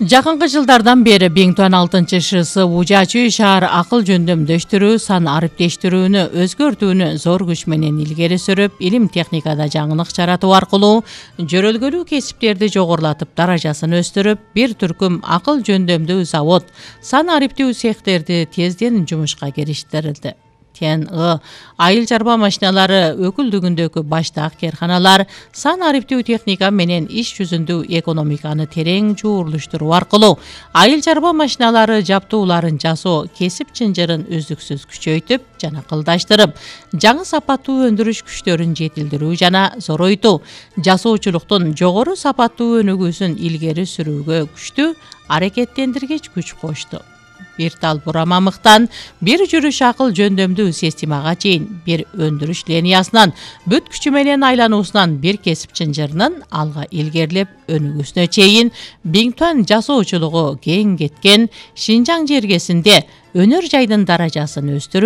Жакынкы жылдардан бери Биңтуан 6-ШС Ужачы шаар акыл жөндөмдөштүрүү, сан ариптештирүүнү өзгөртүүнү зор күч менен илгери сүрүп, илим техникада жаңылык жаратуу аркылуу жөрөлгөлүү кесиптерди жогорулатып, даражасын өстүрүп, бир түркүм акыл жөндөмдүү завод, сан ариптүү цехтерди тезден жумушка кириштирилди. ТНИ, айыл чарба машиналары өкүлдүгүндөгү баштак керканалар сан ариптүү техника менен иш жүзүндө экономиканы терең жуурлуштуруу аркылуу айыл чарба машиналары жаптууларын жасоо кесип чынжырын үздүксүз күчөйтүп жана кылдаштырып, жаңы сапаттуу өндүрүш күчтөрүн жетилдирүү жана зоройтуу, жасоочулуктун жогору сапаттуу өнүгүүсүн илгери сүрүүгө күчтүү аракеттендиргич күч кошту. Бир тал бура мамыктан бир жүрүш акыл жөндөмдүү системага чейин, бир өндүрүш линиясынан бүт күчү менен айлануусунан бир кесип чынжырынын алга илгерилеп өнүгүүсүнө чейин Биңтуан жасоочулугу кең кеткен Шинжаң жергесинде өнөр жайдын даражасын өстүрүү